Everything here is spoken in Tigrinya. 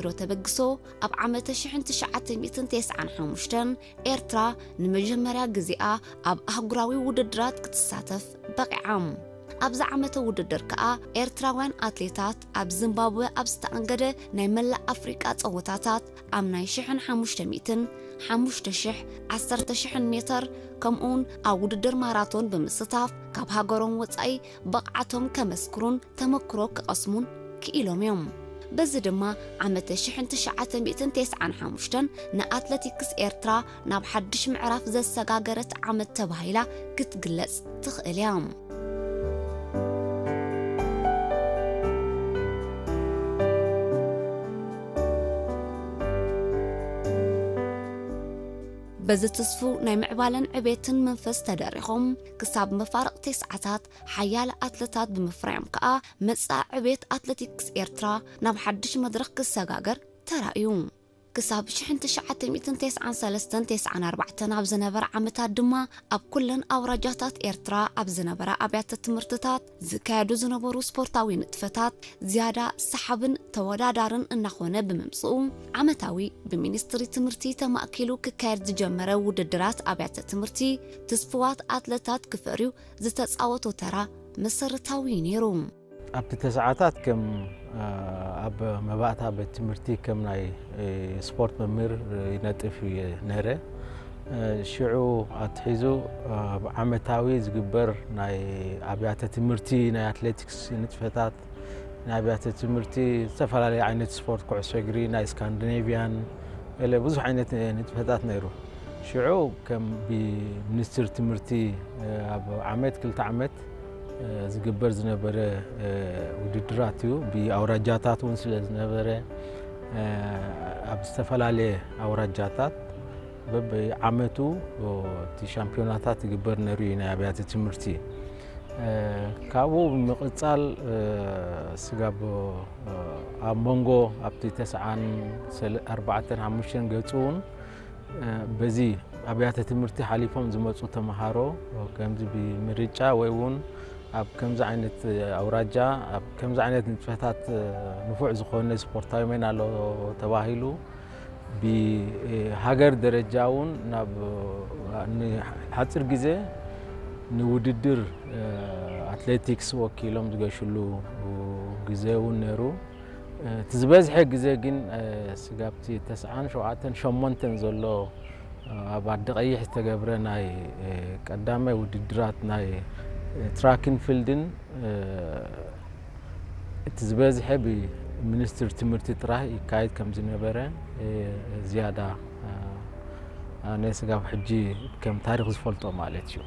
ወትሮ ተበግሶ፣ ኣብ ዓመተ ሽሕን ትሽዓተ ሚእትን ተስዓን ሓሙሽተን ኤርትራ ንመጀመርያ ግዜኣ ኣብ ኣህጉራዊ ውድድራት ክትሳተፍ በቒዓ። ኣብዚ ዓመተ ውድድር ከኣ ኤርትራውያን ኣትሌታት ኣብ ዚምባብወ ኣብ ዝተኣንገደ ናይ መላእ ኣፍሪቃ ጸወታታት ኣብ ናይ ሽሕን ሓሙሽተ ሚእትን፣ ሓሙሽተ ሽሕ፣ ዓሰርተ ሽሕን ሜተር ከምኡውን ኣብ ውድድር ማራቶን ብምስታፍ ካብ ሃገሮም ወጻኢ ብቕዓቶም ከመስክሩን ተመክሮ ክቐስሙን ክኢሎም እዮም። በዚ ድማ ዓመተ ሽሕን ትሽዓተ ሚእትን ተስዓን ሓሙሽተን ንኣትለቲክስ ኤርትራ ናብ ሓድሽ ምዕራፍ ዘሰጋገረት ዓመት ተባሂላ ክትግለጽ ትኽእል እያ። በዚ ትስፉ ናይ ምዕባለን ዕቤትን መንፈስ ተደሪኾም ክሳብ መፋርቕ ተስዓታት ሓያለ ኣትለታት ብምፍራዮም ከኣ መጻኢ ዕቤት ኣትለቲክስ ኤርትራ ናብ ሓድሽ መድረኽ ክሰጋገር ተራእዩ። ክሳብ ሽሕን ትሽዓተ ሚእትን ተስዓን ሰለስተን ተስዓን ኣርባዕተን ኣብ ዝነበረ ዓመታት ድማ ኣብ ኩለን ኣውራጃታት ኤርትራ ኣብ ዝነበራ ኣብያተ ትምህርትታት ዝካየዱ ዝነበሩ ስፖርታዊ ንጥፈታት ዝያዳ ሰሓብን ተወዳዳርን እናኾነ ብምምጽኡ ዓመታዊ ብሚኒስትሪ ትምህርቲ ተማእኪሉ ክካየድ ዝጀመረ ውድድራት ኣብያተ ትምህርቲ ትስፍዋት ኣትለታት ክፈርዩ ዝተጻወቶ ተራ መሰረታዊ እዩ ነይሩ። ኣብቲ ተስዓታት ከም ኣብ መባእታ ቤት ትምህርቲ ከም ናይ ስፖርት መምህር ይነጥፍ እየ ነረ። ሽዑ ኣትሒዙ ኣብ ዓመታዊ ዝግበር ናይ ኣብያተ ትምህርቲ ናይ ኣትሌቲክስ ንጥፈታት፣ ናይ ኣብያተ ትምህርቲ ዝተፈላለዩ ዓይነት ስፖርት፣ ኩዕሶ እግሪ፣ ናይ ስካንዲኔቪያን፣ ገለ ብዙሕ ዓይነት ንጥፈታት ነይሩ። ሽዑ ከም ብሚኒስትር ትምህርቲ ኣብ ዓመት ክልተ ዓመት ዝግበር ዝነበረ ውድድራት እዩ። ብኣውራጃታት እውን ስለ ዝነበረ ኣብ ዝተፈላለየ ኣውራጃታት በብዓመቱ እቲ ሻምፒዮናታት ይግበር ነይሩ እዩ ናይ ኣብያተ ትምህርቲ። ካብኡ ብምቕጻል ስጋብ ኣብ መንጎ ኣብቲ ተስዓን ሰለ-፣ ኣርባዕተን ሓሙሽተን ገጹ እውን በዚ ኣብያተ ትምህርቲ ሓሊፎም ዝመጹ ተምሃሮ ከምዚ ብምርጫ ወይ እውን ኣብ ከምዚ ዓይነት ኣውራጃ ኣብ ከምዚ ዓይነት ንጥፈታት ንፉዕ ዝኾነ ስፖርታዊ መን ኣሎ ተባሂሉ ብሃገር ደረጃ እውን ናብ ንሓፂር ግዜ ንውድድር ኣትሌቲክስ ወኪሎም ዝገሽሉ ግዜ እውን ነይሩ። እቲ ዝበዝሐ ግዜ ግን ስጋብቲ ተስዓን ሸውዓተን ሸሞንተን ዘሎ ኣብ ዓዲ ቀይሕ ዝተገብረ ናይ ቀዳማይ ውድድራት ናይ ትራክን ፊልድን እቲ ዝበዝሐ ብሚኒስትሪ ትምህርቲ ጥራሕ ይካየድ ከም ዝነበረ ዝያዳ ኣነ ስጋብ ሕጂ ከም ታሪኽ ዝፈልጦ ማለት እዩ።